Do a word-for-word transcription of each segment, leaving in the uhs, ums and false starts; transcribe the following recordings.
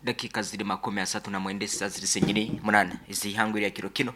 Dakika ziri makumi asatu na mwenda, saa ziri zenyini munana ez'ihangwe lya kiro kino,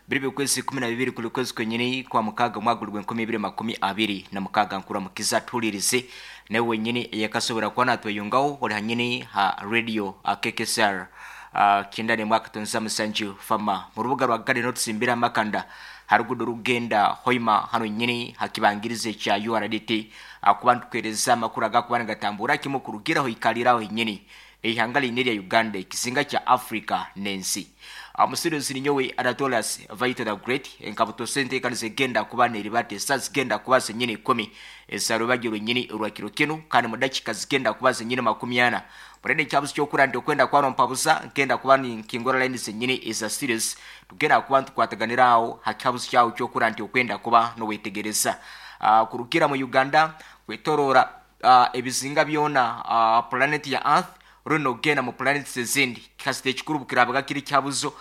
biri bikwezi kumi na bibiri kuli kwezi kwenyini kwa mukaga, mwaka guli enkumi ibiri makumi abiri na mukaga. Nkuramukiza tuhulirize nawe wenyini eyakasobora kuba natweyungaho oli hanyini ha radio K K S R uh, kyenda nemwaka tonza musanju fama mu rubuga rwa Garden otusimbira amakanda harugudo rugenda Hoima, hano nyini hakibangirize kya U R D T, akuba ntukwereza amakuru agakuba nigatambura kimu kurugiraho ikaliraho nyini eihanga line lya Uganda, ekizinga kya Africa n'ensi. Omusiruzi ninyowe Anatolas Vito the Great. Enkabuto sente zigenda kuba neribate esa zigenda kuba zenyini ikumi ezarubagiro nyini orwakiro kinu, kandi mu dakika zigenda kuba zenyini makumi ana. Murende ekyabuzi kyokura nti okwenda kuba nompabuza nkenda kuba ninkingura line zenyini eza series, tugenda kuba ntukwataganiraho hakyabuzi kyawe kyokura nti okwenda kuba nowetegereza. uh, kurukira mu Uganda, kwetorora uh, ebizinga byona, uh, planet ya Earth, runo ogenda mu planets ezindi, kasita ekikuru bukirabaga kiri kyabuzo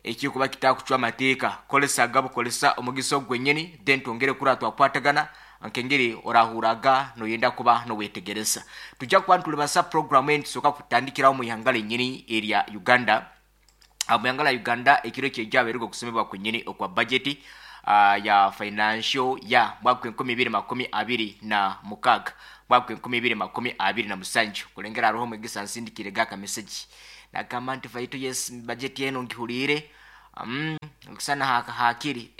ekikuba kitakucwa amateeka, kolesa bukolesa omugisa ogwenyini, then twongere kura twakwatagana nkengeri orahuraga noyenda kuba nowetegereza. Tujja kuba ntulibasa program eni. Tusooka kutandikirawo mu ihanga lenyini erya Uganda. Mu ihanga lya Uganda, ekiro kyejjabeererwa okusomebwa kwenyini okwa budget uh, ya financial ya mwaka enkumi ibiri makumi abiri na mukaga, mwaka enkumi ibiri makumi abiri na musanju. Kulengera hariho omwegesa nsindikire gaka message nagamba nti, "Vaito, yes, budget eno ngihuriire, mm, okusana haka hakiri."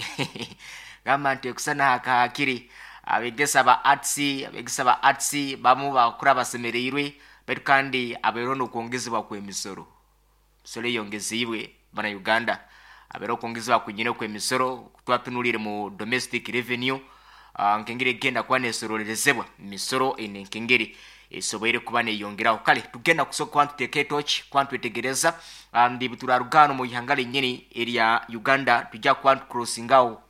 Gamba nti okusana haka hakiri. Abegesa ba arts abegesa ba arts bamu bakura basemereirwe, baitu kandi abeero nokwongezebwa kw'emisoro. Misoro eyongeziibwe bana Uganda, abeera okwongezebwa kwenyine kw'emisoro. Twatunulire mu domestic revenue, uh, nkengeri egenda kuba nesorolerezebwa misoro eno, enkengeri esoboire kuba neyongeraho. Kale tugenda kusoka kuba ntuteeka etoki kuba ntwetegereza ndi turaruga mu ihanga lenyini erya Uganda, tujja kuba ntucrossingawo,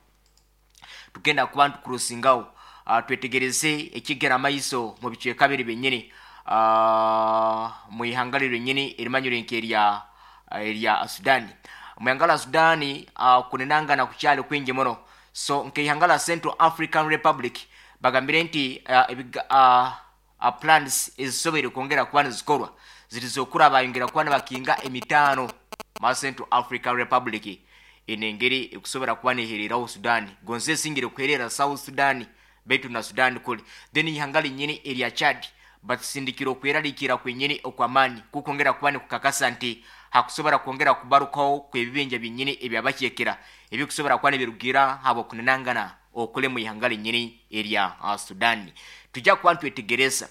tugenda kuba ntucrossingawo, uh, twetegereze ekigera amaiso mu bicweka biri benyini uh, mu ihanga lyenyini erimanyire nkerya erya Sudani. Mu ihanga lya Sudani, uh, kunenangana kukyali kwingi muno. So nkeihanga lya Central African Republic bagambire nti uh, ebiga, uh, uh, plans ezisoboire kwongera kuba nizikorwa ziri bayongera kuba nibakinga emitaano ma Central African Republic. Eno engeri ekusobora kuba nehereraho Sudani, gonze esingire kuherera South Sudan, baitu na Sudan kuli. Then ihanga linyini erya Chad batusindikira okweraliikira kwenyini okwamaani kukwongera kuba nikukakasa nti hakusobora kwongera kubarukaho kwebibinja byenyini ebyabakyekera ebikusobora kuba nibirugira habwokunenangana okule mu ihanga linyini erya uh, Sudani. Tujja kuba ntwetegereza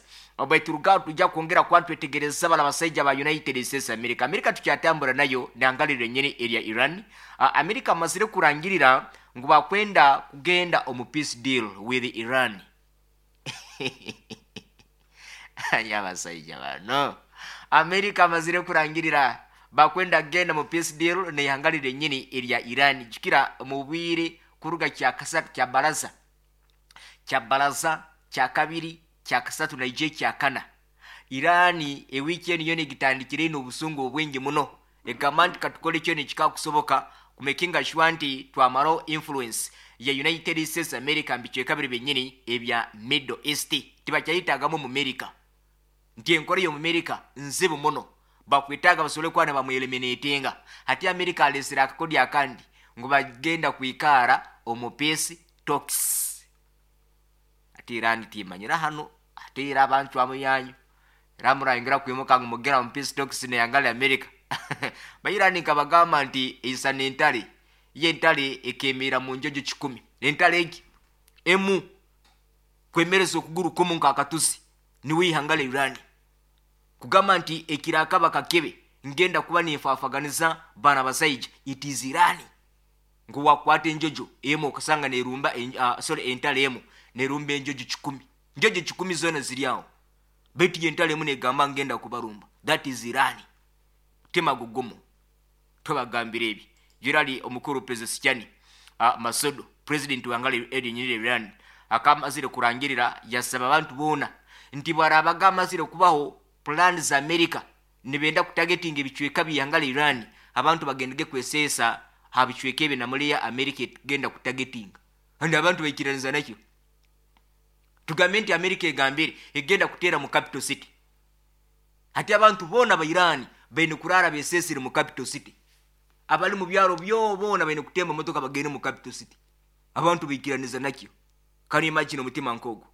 baitu tujja kwongera kuba ntwetegereza bala basaija ba United States America. America tukyatambura nayo nanga lyenyini erya Iran. uh, America amazire kurangirira ngu bakwenda kugenda omu peace deal with Iran. Yabasaija bano America amazire kurangirira bakwenda kugenda mu peace deal neihanga lyenyini erya Iran. Jukira mu bwire kuruga kya kasatu, kya baraza kya baraza kya kabiri, kya kasatu, naije kya kana, Irani ewiiki eno yona egitandikire ino obusungu obwingi muno, egamba nti katukole kyo nekikakusoboka kumakinga sure nti twamalaho influence ya United States America mbicweka biri byenyini ebya Middle East. Tibakyayitagamu mu America, nti enkola y'omu America nzibu muno, bakwetaaga basobole kuba ne bamweliminatinga. Hati America alesere akakodi akandi ngu bagenda kwikaara omu peace talks. Ate Iran timanyira hano, ate era abantu amuyanyu era murayongera kwimuka ngu mugera mu peace talks neyangala America. Bairani nkabagamba nti eisana entale, ye entale ekemera mu njojo kikumi. Entale egi emu kwemereza okuguru kumu nkakatusi, niwe ihanga la Irani kugamba nti ekirakaba kakebe ngenda kuba ninfafaganiza bana basaija. It is Irani ngu wakwata enjojo emu okasanga nerumba en, uh, sorry, entale emu nerumba enjojo kikumi, njojo kikumi zona ziri awo, baitu ye entale emu negamba ngenda kubarumba. That is Irani. Tema gugumu tobagambira ebi gerali omukuru Pezeshkian, uh, Masoud, president wangala erinyirira Iran, akamazire kurangirira, yasaba abantu boona nti bwarabaga amazire kubaho plan za America nibenda kutargetinga ebicweka byangala Iran, abantu bagendege kweseesa ha bicweka ebyo namuliya America egenda kutargetinga. And abantu baikiraniza nakyo. Tugambe nti America egambire egenda kuteera mu capital city, ati abantu boona ba Iran Baine kurara besesire mu capital city. Abali mu byaro byo boona baine kutemba motoka bagende mu capital city. Abantu baikiraniza nakyo. Can you imagine omutima nkogwo?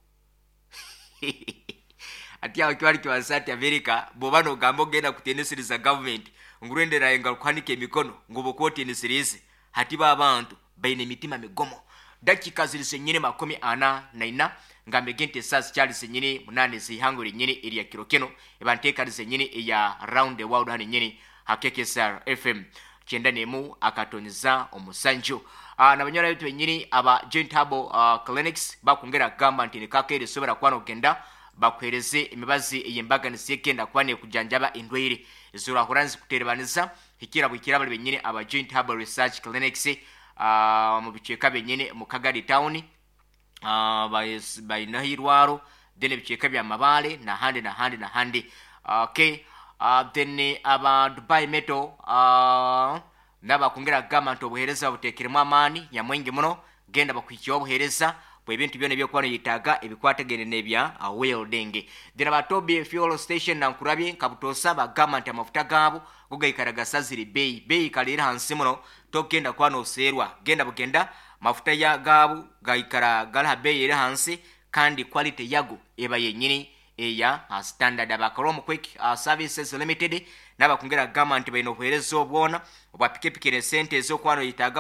Ati aho kiwali kiwansa ati America bwoba nogamba ogenda kuteneseriza government ngurenderayo nga kuhanika emikono ngu bokwoteneserize. Hati ba abantu baine emitima migomo. Dakika ziri senyine makumi ana na ina ngambe gente saa zikyali zenyini munane zihango lenyini erya kiro kino ebanteekani zenyini eya Round the World hano nyini ha K K S R F M kyenda nemu akatonyeza omusanju. uh, nabanyora betu benyini aba Joint Herbal uh, Clinics bakongera kugamba nti nikakeere sobora kuba nogenda bakuhereze emibazi ey'embaganiza egenda kuba nekujanjaba endwaire ezorahura nzikuterebaniza hikira bwikira. Bali benyini aba Joint Herbal Research Clinics uh, mu bicweka benyini mu Kagadi town uh, bainaho irwaro, then ebicweka bya Mabale nahandi nahandi nahandi. Okay, uh, then aba Dubai Metal uh, nabakongera kugamba nti obuheereza buteekeremu amaani nyamwingi muno. Genda bakuhikireho obuheereza bw'ebintu byona ebyokuba noyetaaga ebikwatagene n'ebya uh, welding. Then aba Toby Fuel Station nankurabye nkabutosa bagamba nti amafuta gaabo go gaikara gasazire beeyi, beeyi kali hansi muno, togenda kuba noseerwa. Genda bugenda mafuta ya gaabo gaikara gali ha beeyi eri hansi kandi quality yago eba yenyini eya uh, standard. Abakoromu Quick uh, Services Limited nabakongera kugamba nti balina obuheereza obwona obwa pikipiki nesente ez'okuba noyetaaga.